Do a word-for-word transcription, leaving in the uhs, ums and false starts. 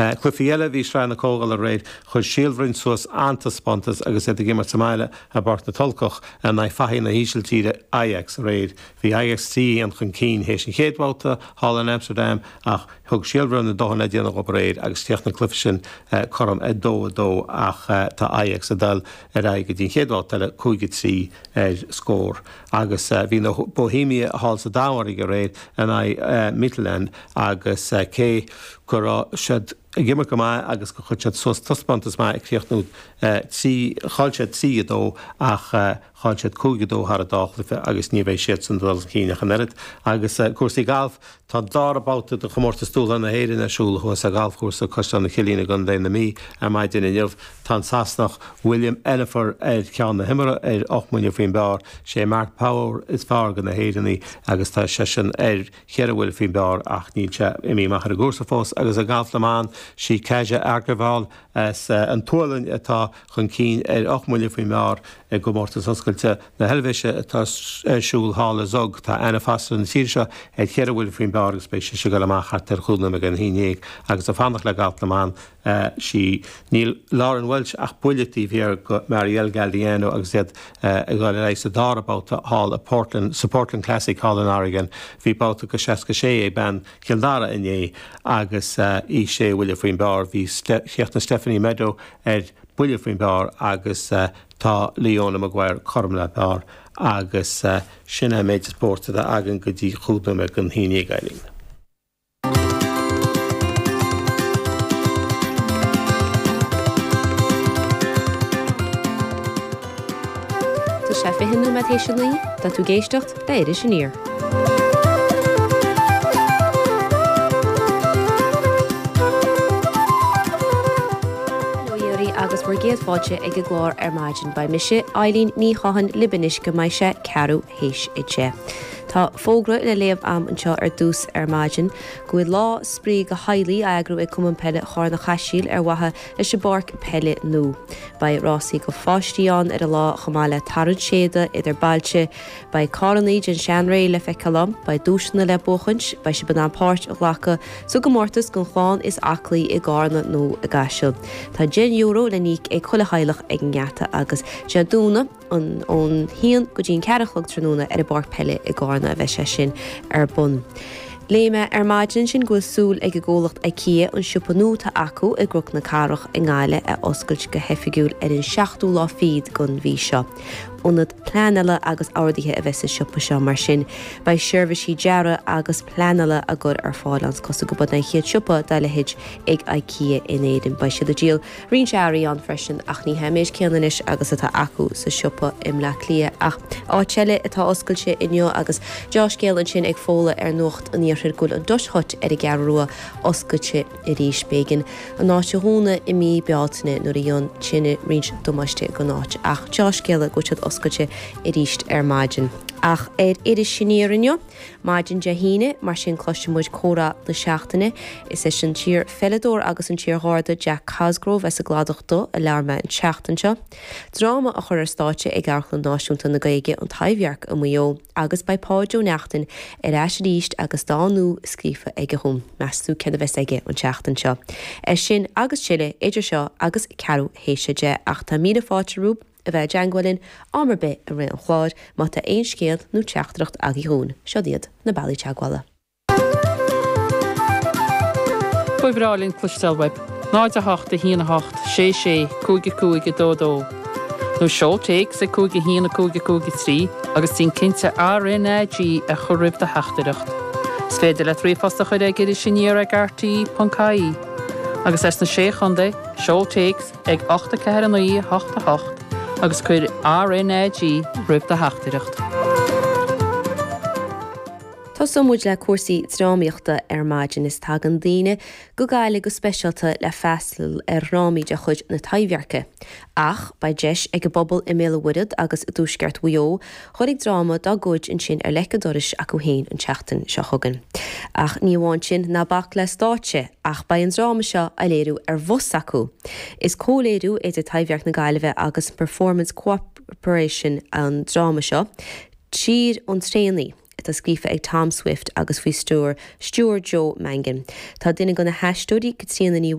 Cluichí eile bhí Sraith na Comhdhála aréir chuir Síol Bhroin suas an-taispeántas agus iad ag imirt sa mbaile i bPáirc na Tulcach in aghaidh fathaigh na hÍsiltíre Ajax aréir. Bhí Ajax trí aon chun cinn théis an chéad bhabhta thall in Amsterdam ach thug Síol Bhroin a dóthain le déanamh dóibh aréir agus chríochnaigh an cluiche sin cothrom ag dó a dó ach tá Ajax ag dul ar aghaidh go dtí an chéad bhabhta eile cúig a trí ar scór. Agus bhí na Bohemia thall sa Danmhairg aréir in aghaidh Midtjylland agus cé go raibh siad ag imirt go maith agus go chuir siad suas taispeántas maith ag críochnú trí chaill siad trí a dó ach chaill siad cúig a dó thar an dá chluiche agus ní bheidh siad san dul chun cinn ach an oiread. Agus cúrsaí gailf tá an dara babhta de chomórtas Dúshlán na hÉireann ar siúl thuas ag galfchúrsa Caisleán an Chillín i gContae na Mí ar maidin inniu. Tá an Sasanach William Enefer ar cheann na himeartha ar ocht mbuille faoin bpar, sé Mark Power is fearr de na hÉireannaigh agus tá seisean ar cheithre bhuille faoin bpar ach níl sé imithe amach ar an gcúrsa fós agus i ngalf na mban sí Kaja Argevall as an tSualainn atá chun cinn ar ocht mbuille faoin bpar i gcomórtas oscailte na hEilvéise atá ar siúl thall i Zug. Tá Anna Foster na tíre seo ar cheithre bhuille faoin bpar agus beidh sise ag dul amach thart ar chúig nóiméad don haon déag agus ag fanacht le galf na mban sí níl Lauren Welch ach buille taobh thiar de Marielle Galdiano agus iad ag dul ar aghaidh sa dara babhta thall i Portland sa Portland Classic thall in Oregon. Bhí babhta go seasca sé ag bean Chill Dara inné agus í sé bhuille faoin bpar bhí chríochnaigh Stephanie Meadow ar buille faoin bpar agus tá Leona Maguire cothrom le par agus sin é méid spóirt atá againn go dtí chúig nóiméad don haon déag Eileen. Tá sé fiche nóiméad théis a naoi, tá tú ag éisteacht le Iris Aniar. Hello agus bhur gcéad fáilte ag an gclár ar maidin. Beidh mise, Eileen Ní Chatháin, libh anois go mbeidh sé ceathrú théis a deich. Tá fógra le léamh a'm anseo ar dtús ar maidin go bhfuil lá spraoi do theaghlaigh á eagrú ag Cumann Peile Charna Chaisil ar mhaithe leis an bpáirc peile nua. Beidh rásaí do pháistí ann ar an lá chomh maith le tarraingt séide idir bailte. Beidh carrannaí den seanré le feiceáil ann, beidh duaiseanna le buachaint, beidh sibh in ann páirt a ghlacadh sa gcomórtas don chlann is aclaí i gCarna nó i gCaiseal. Tá deich euro le n-íoc ag chuile theaghlach ag an ngeata agus Dé Domhnaigh an ón haon go dtí an ceathair a chlog tráthnóna ar an bpáirc peile i gCarna a bheidh sé sin ar bun. Léigh mé ar maidin sin go bhfuil súil ag an gcomhlacht IKEA an siopa nua atá acu i gCnoc na Cathrach i nGaillimh a oscailt go hoifigiúil ar an seachtú lá fichead den mhí seo. Ionad pleanála agus ordaithe a bheidh sa siopa seo mar sin. Beidh seirbhísí dearaidh agus pleanála á gcur ar fáil ann cosúil gurb é an chéad siopa dá leithéid ag IKEA in Éirinn. Beidh siad ag díol roinnt earraí ann freisin ach ní hé an méid céanna anois agus atá acu sa siopa i mBleá Cliath ach áit eile atá oscailte inniu agus dea-scéal ansin ag Fódhla ar Nuacht an Iarthair go bhfuil an Dutch Hut ar an gCeathrú Rua oscailte arís. B'éigean an áit a dhúnadh i mí Bealtaine nuair a dhein tine roinnt damáiste don áit ach dea-scéala go bhfuil siad oscailte arís ar maidin. Ach ar Iris Aniar inniu, maidin Dé hAoine, mar sin cloisfidh muid comhrá na seachtaine. Is leis an t-iar-pheileadóir agus an t-iar-gharda Jack Cosgrove as an gCladach Dubh a labhair mé an tseachtain seo. Dráma á chur ar stáitse ag Amharclann Náisiúnta na Gaeilge an Taibhdhearc i Maigh Eo agus beidh Páid Ó Neachtain ar ais arís agus dán nua scríofa aige dhúinn. Meas tú céard a bheas aige an tseachtain seo. É sin agus tuilleadh idir seo agus ceathrú théis a deich ach tá míle fáilte romhaibh a bheith i dteagmháil linn am ar bith i rith an chláir má tá aon scéal nó teachtaireacht agaibh dhúinn. Seo iad na bealaí teagmhála. Ba bhreá linn cloisteáil uaibh. náid a hocht a haon a hocht sé sé cúig a cúig a dó dó. Nó seol téacs ag cúig a haon a cúig a cúig a trí agus déan cinnte RNAG a chur roimh do theachtaireacht. Is féidir leat ríomhphost a chur ag iris aniar ag rte ponc ie. Agus as na sé chontae, seol téacs ag ocht a ceathair a naoi a hocht a hocht agus cuir RNAG roimh do theachtaireacht. Tosóidh muid le cúrsaí drámaíochta ar maidin is tagann daoine go Gaillimh go speisialta le freastal ar dhrámaí de chuid na Taibhdheirce. Ach beidh deis ag an bpobal i mBéal an Mhuirthead agus i dTuaisceart Mhaigh Eo dhul ag dráma dá gcuid ansin ar leic an dorais acu féin an tseachtain seo chugainn. Ach ní amháin sin ná bac le stáitse ach beidh an dráma seo á léiriú ar bhus acu. Is comhléiriú idir Taibhdhearc na Gaillimhe agus Performance Cooperation an dráma seo, Tír an Traonaí, atá scríofa ag Tom Swift agus faoi stiúir stiúir Joe Mangan. Tá duine de na haisteoirí Caitríona Ní